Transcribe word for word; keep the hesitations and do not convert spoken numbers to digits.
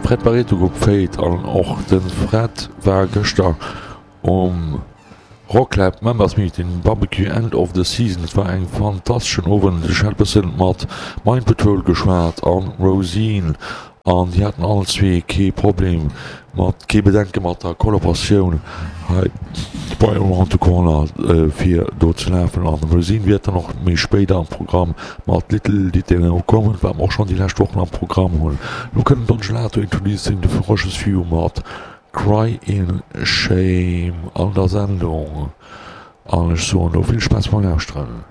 Fred Barreto Grupp Fate an och de Fred war gëschter um Rocklab Members Meeting Barbecue End of the Season. Et war eng fantasteschen Owend. Ech hat bëssen mat Mind Patrol geschwat an Rosine an déi haten all zwee kee Problem mat, kee Bedenke mat der Kollaboratioun hei bei Around the Corner fir do ze lafen. An Rosine wäert dann och méi spéider am Programm mat Little Did They Know kommen, wat mer och schonn déi lescht Wochen am Programm hunn. Lo kënnt Don Gelato Introducing the Ferocious Few mat Cry in Shame an der Sendung an ech soen elo vill Spaass beim Lauschteren.